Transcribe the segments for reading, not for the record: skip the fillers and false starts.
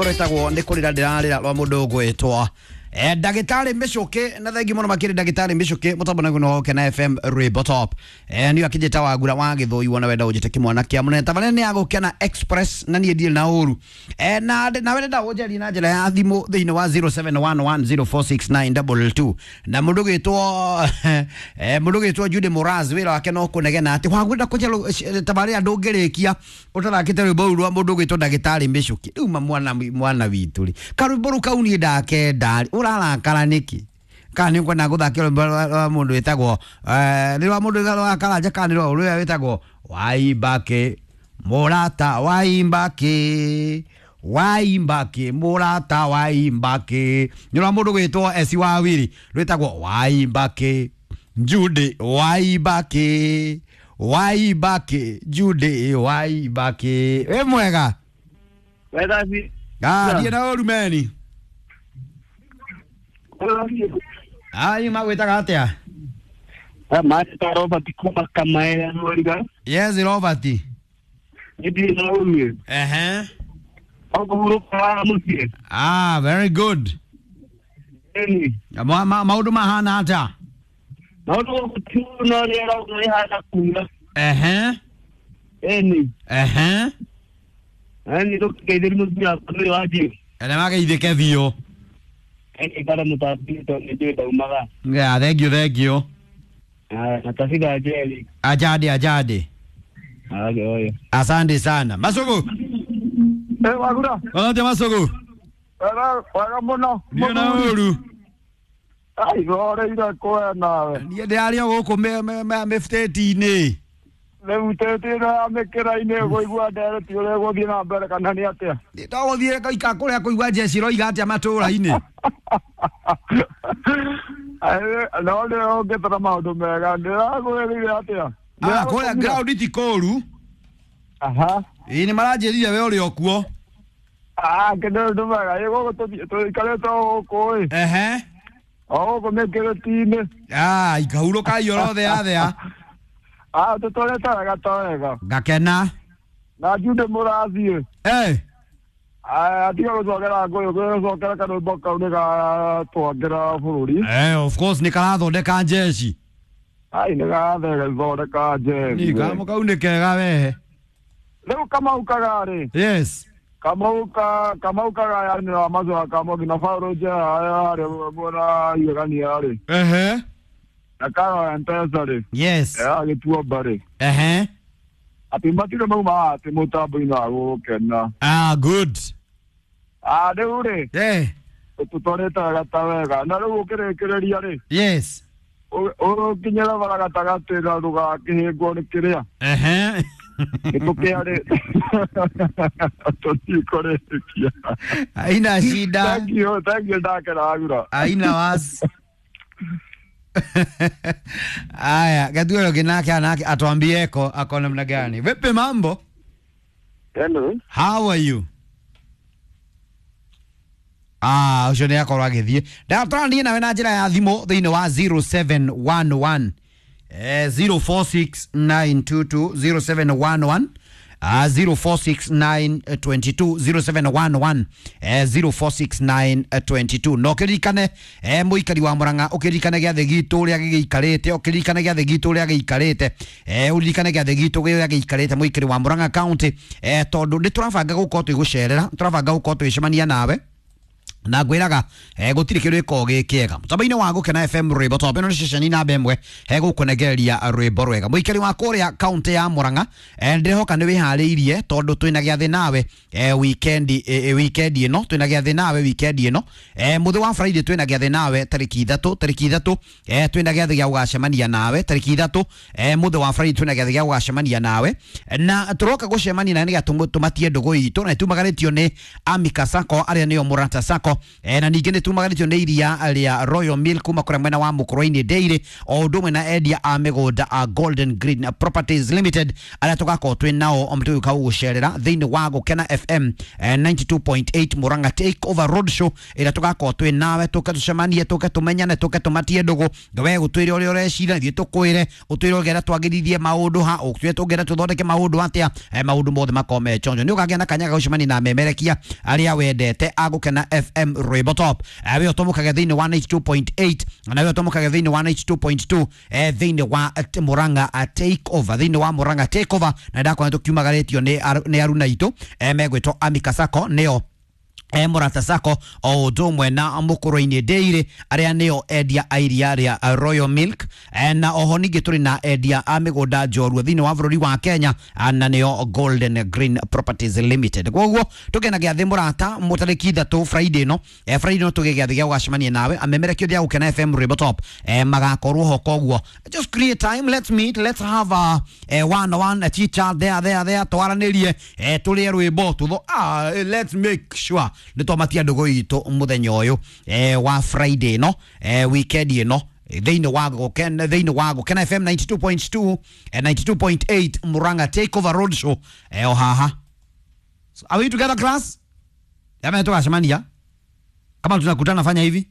Rwĩtagwo nĩ kũrĩra ndĩrarĩra rwa mũndũ ũgwĩtwo ndagĩtarĩ Mĩcũkĩ, na thengi mũno makĩria ndagĩtarĩ Mĩcũkĩ mũtambo naguo nĩ wa Gũkena FM Rwĩmbo Top. Niĩ akĩnjĩta Wagura wa Gĩthũi, wona wenda ũnjĩte kĩmwana kĩa mũnene. Tabarĩra nĩ ya Gũkena Express na niĩ ndirĩ na ũru. Na nawe ndenda ũnjarie na njĩra ya thimũ thĩinĩ wa 0711046922 na mũndũ gwĩtwo mũndũ gwĩtwo Jude Moraz, wĩra wake no kũnegena atĩ wagwenda kũnja tabarĩra ndũngĩrĩkia ũtathakĩte rwĩmbo rũu rwa mũndũ gwĩtwo ndagĩtarĩ Mĩcũkĩ. Rĩu ma mwana mwana witũ rĩ, karwĩmbo rũu kau niĩ ndakenda rĩ, ũrarakara nĩkĩ? Kana nĩ ũkwenda gũthakĩra rwĩmbo rwa mũndũ wĩtagwo nĩ rwa mũndũ wa Karanja, kana nĩ rwa ũrĩa wĩtagwo Waimbake mũrata, Waimbake, Waimbake mũrata, Waimbake, nĩ rwa mũndũ gwĩtwo Esi Wawiri rwĩtagwo Waimbake Jude, Waimbake, Waimbake Jude, Waimbake. Wĩ mwega? Wega si. Ah, ndiĩ na ũru meni. Ai, magwĩtaga atĩa? Master Robert kuma Kamaera Rwariga. Yes, Robert. Nĩ na ũru. Ehe. Ọkũhurũka wa mũciĩ. Ah, very good. Ĩni. Maũndũ mahana atĩa? Maũndũ gũkũ ti no rĩera ũguo rĩhana kuura. Ehe. Ĩni. Ehe. Ĩni tũkĩgeithĩria mũtumia wakwa nĩ wanjie. Ene mageithĩke biũ. Ĩni ikara mũtambi tondũ nĩ njũĩ ndaumaga. Yeah, thank you, thank you. Na tabitha njeri. Ajadi, ajadi. Age oyo. Asante sana. Masugu. Wagura. Wanatia Masugu. Wega wega mũno. Ndiĩ na ũru. Ai, horeire kwe nawe. Niĩ ndĩrarĩ o gũkũ mĩbutĩti-inĩ. Rĩu tĩti ĩno ya mĩkĩra-inĩ ũkũigua ndereti ũrĩa ĩgũthiĩ na mbere kana nĩ atĩa? Togũthiĩ ika kũrĩa kũigua njeci iroiga atĩa matũũra-inĩ. Ai, no nĩ ũngĩtara maũndũ mega ndĩrakwĩrire atĩa? Ah, kũrĩa ground ti kũũru. Aha. Ĩĩ nĩ maranjĩrire we ũrĩ o kuo. Ah, kĩndũ ũndũ mega ĩ gũkũ tũikarĩte o gũkũ ĩ. Ehe. O gũkũ mĩkĩrĩti-inĩ. Ah, ikahurũka ioro thea thea. Ah, tũtwarĩte wega to wega. Ngakena. Na Jude mũrathiĩ. Eh. Atiga gũcokera ngũyũ, gũcokera karwĩmbo kau nĩ gatwangĩra bũrũri. Of course nĩ karathondeka njeci. Ai, nĩ gathondeka njeci. Ni kamo kau nĩ kega we. Rĩu Kamau Kagarĩ. Yes. Kamau ka Kamau Kagaya nĩ wa macoa kamo nginya Paũlũ Njeha harĩa mwena Igegania rĩ. Ehe. Na Karo Mpesa rĩ. Yes. Agĩtuomba rĩ. Ehe. Atĩ matirĩ mauma atĩ mũtambo-inĩ wa Gũkena. Ah, good. Ah, rĩu rĩ. Eh. Tũtwarĩte wega ta wega. Na rĩu ũkĩrĩkĩrĩria rĩ. Yes. Ũkinyĩra bara gatagatĩ na ndũgakĩhĩngwo nĩ kĩrĩa. Ehe. Nĩ tũkĩarĩ. Tũtikũrĩkia. Haina shida. Thank you, thank you ndakena Wagura. Haina wasi. Aya, Gatuelo kinake anake atuambieko ako namna gani. Vipi mambo? Hello. How are you? Ah, ũcio nĩ akorwo agĩthiĩ. Ndatwaranie nawe na njĩra ya thimũ thĩinĩ wa 0711 046922 0711 046922 0711 046922 no ũkĩririkane mũikari wa Murang'a, ũkĩririkane gĩathĩ gitũ ũrĩa gĩgĩikarĩte, ũkĩririkane gĩathĩ gitũ ũrĩa gĩikarĩte, ũririkane gĩathĩ gitũ ũrĩa gĩikarĩte mũikari wa Murang'a County, tondũ nĩ tũrabanga gũkorwo twĩgũcerera, tũrabanga gũkorwo twĩcemania nawe na ngwĩraga gũtirĩ kĩndũ gĩkoragwo gĩ kĩega mũtambo-inĩ wa Gũkena FM Rwĩmbo Top. Ĩno nĩ ceceni namba ĩmwe gũkũnengereria rwĩmbo rwega. Mũikari wa kũrĩa kaũntĩ ya Murang'a, ndĩrehoka nĩ wĩharĩirie tondũ twĩna gĩathĩ nawe weekend, weekend ĩno twĩna gĩathĩ nawe weekend ĩno, mũthĩ wa Friday twĩna gĩathĩ nawe tarĩki ithatũ, tarĩki ithatũ, twĩna gĩathĩ gĩa gũgacemania nawe tarĩki ithatũ, mũthĩ wa Friday twĩna gĩathĩ gĩa gũgacemania nawe na tũroka gũcemania nawe nĩgetha tũmatie ndũgũ itũ na itumagarĩtio nĩ Amika Sacco arĩa nĩo Mũrata Sacco. Na ningĩ nĩ tumaganĩtio nĩ iria rĩa Royal Milk kuma kũrĩa mwena wa Mũkũrwe-inĩ Dairy, o ũndũ ũmwe na endia a mĩgũnda a Golden Green Properties Limited arĩa tũgakorwo twĩ nao tũgĩũka gũgũcerera thĩinĩ wa Gũkena FM 92.8 Murang'a Take Over Road Show ĩrĩa tũgakorwo twĩ nawe, tũke tũcemanie, tũke tũmenyane, tũke tũmatie ndũgũ, we gũtwĩre ũrĩa ũreciria, ithuĩ tũkwĩre, ũtwĩre ũngĩenda twagĩrithie maũndũ ha, ũtwĩre tũngĩenda tũthondeke maũndũ atĩa, maũndũ mothe makorwo me chonjo. Nĩ ũkagĩa na kanya ga gũcemania na memerekia arĩa wendete a Gũkena FM Rwĩmbo Top. We ũtũmũkage thĩinĩ wa 92.8 na we ũtũmũkage thĩinĩ wa 92.2 thĩinĩ wa Murang'a Take Over, thĩinĩ wa Murang'a Take Over, na ndakwona tũkiumagarĩtio nĩ aruna aitũ megwĩtwo Amika Sacco, nĩo Mũrata Sacco, o ũndũ ũmwe na Mũkũrwe-inĩ Dairy arĩa nĩo endia a iria rĩa Royal Milk, na oho ningĩ tũrĩ na endia a mĩgũnda njorua thĩinĩ wa bũrũri wa Kenya, na nĩo Golden Green Properties Limited. Koguo tũkena gĩathĩ mũrata mũtarĩki 3 Friday ĩno, Friday ĩno tũgĩ gĩathĩ gĩa gũgacemania nawe amemerekio thĩa Gũkena FM Rwĩmbo Top, magakorwo ho. Koguo just create time, let's meet, let's have a one on one, a chit chat there there there, twaranĩrie, tũrĩe rwĩmbo tutho, let's make sure nĩ twamatia ndũgũ itũ mũthenya ũyũ wa Friday ĩno, weekend ĩno, thĩinĩ wa Gũkena, thĩinĩ wa Gũkena FM 92.2, 92.8 Murang'a Take Over Road Show, o haha. So, are we together, class? Jamani, tukacemania kama tunakutana, fanya hivi,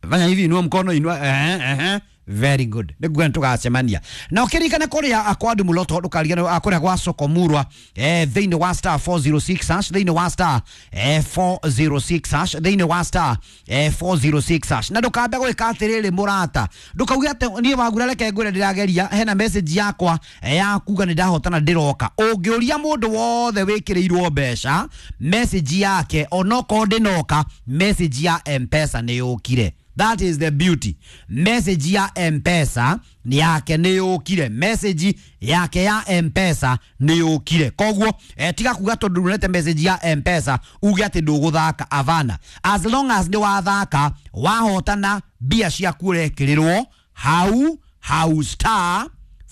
fanya hivi, inua mkono, inua, very good. Nĩguo tũgacemania na ũkĩririkana kũrĩa kwa Ndumuloto, ndũkarigane kũrĩa gwa Sokomurwa, thĩinĩ wa star 406 hash, thĩinĩ wa star 406 hash, thĩinĩ wa star 406 hash. Na ndũkambe gwĩka atĩrĩrĩ mũrata, ndũkauge atĩ niĩ wagura, reke ngwĩre ndĩrageria, hena message yakwa ya kuga nĩ ndahotana ndĩroka. Ũngĩũria mũndũ wothe wĩkĩrĩirwo mbeca message yake, onokorwo ndĩnoka, message ya M-Pesa nĩ yũkire. That is the beauty. Message ya M-Pesa ni yake nĩ yũkire. Message yake ya M-Pesa nĩ yũkire. Koguo tiga kuga tondũ ndunete message ya M-Pesa uge atĩ ndũgũthaka, avana. As long as nĩ wathaka, wahotana, mbia ciaku ũrekĩrĩrwo hau hau, star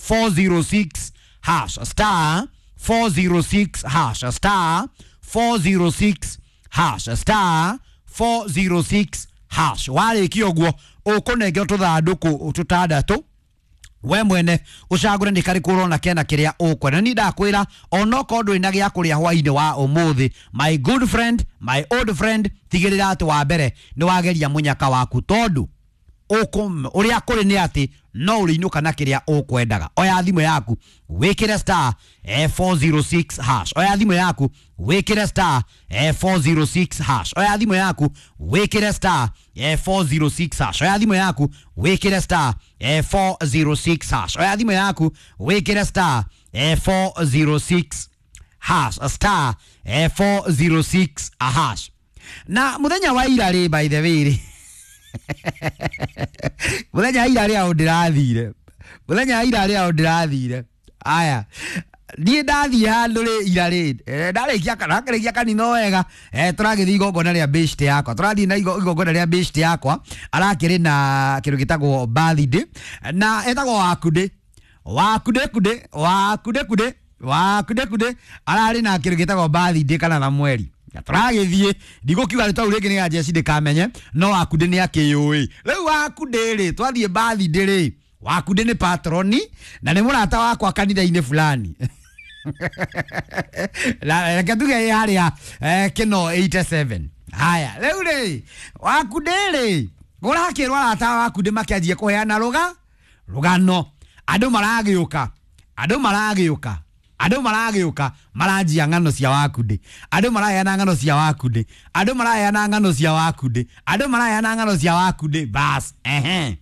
406 hash, star 406 hash, star 406 hash, star 406 hash. Warĩkia ũguo ũkũnengerwo tũthandũkũ tũtandatũ, we mwene ũcagũre nĩ karĩkũ ũrona kena kĩrĩa ũkwenda. Niĩ ndakwĩra onokorwo ndũrĩ na gĩa kũrĩa hwainĩ wa ũmũthĩ, my good friend, my old friend, tigĩrĩra atĩ wa mbere nĩ wageria mũnyaka waku, tondũ ũrĩa kũrĩ nĩ atĩ no ũrĩinũka na kĩrĩa ũkwendaga. Oya thimũ yaku wĩkĩre star 406 hash. Oya thimũ yaku wĩkĩre star 406 hash. Oya thimũ yaku wĩkĩre star 406 hash. Oya thimũ yaku wĩkĩre star 406 hash. Oya thimũ yaku wĩkĩre star 406 hash, star 406 hash. Na mũthenya wa ira rĩ, by the way rĩ, mũthenya wa ira rĩ aũ ndĩrathire, mũthenya wa ira rĩ aũ ndĩrathire, aya niĩ ndathiĩ handũ rĩ ira rĩ, ndarĩkia ndakĩrĩkia kanitha wega, tũragĩthiĩ igongona rĩa beshte yakwa, tũrathiĩ na igongona rĩa beshte yakwa arakĩrĩ na kĩndũ gĩtagwo birthday, na etagwo Wakude, Wakude kude, Wakude kude, Wakude kude, ararĩ na kĩndũ gĩtagwo birthday kana na mweri. Tũragĩthiĩ, ndigũkiuga rĩtwa rĩu rĩngĩ nĩ jeci ndĩkamenye, no Wakude nĩ akĩyũĩ. Rĩu Wakude rĩ, twathiĩ birthday rĩ, Wakude nĩ patroni na nĩ mũrata wakwa kanitha-inĩ fulani. Reke tuge ĩ harĩa Kĩno 87. Haya, rĩu rĩ, Wakude rĩ, kũrakĩrwo arata a Wakude makĩanjia kũheana rũgano. Andũ maragĩũka, andũ maragĩũka, andũ maragĩũka maranjia ng'ano cia Wakude, andũ maraheana ng'ano cia Wakude, andũ maraheana ng'ano cia Wakude, andũ maraheana ng'ano cia Wakude, bas, ehe.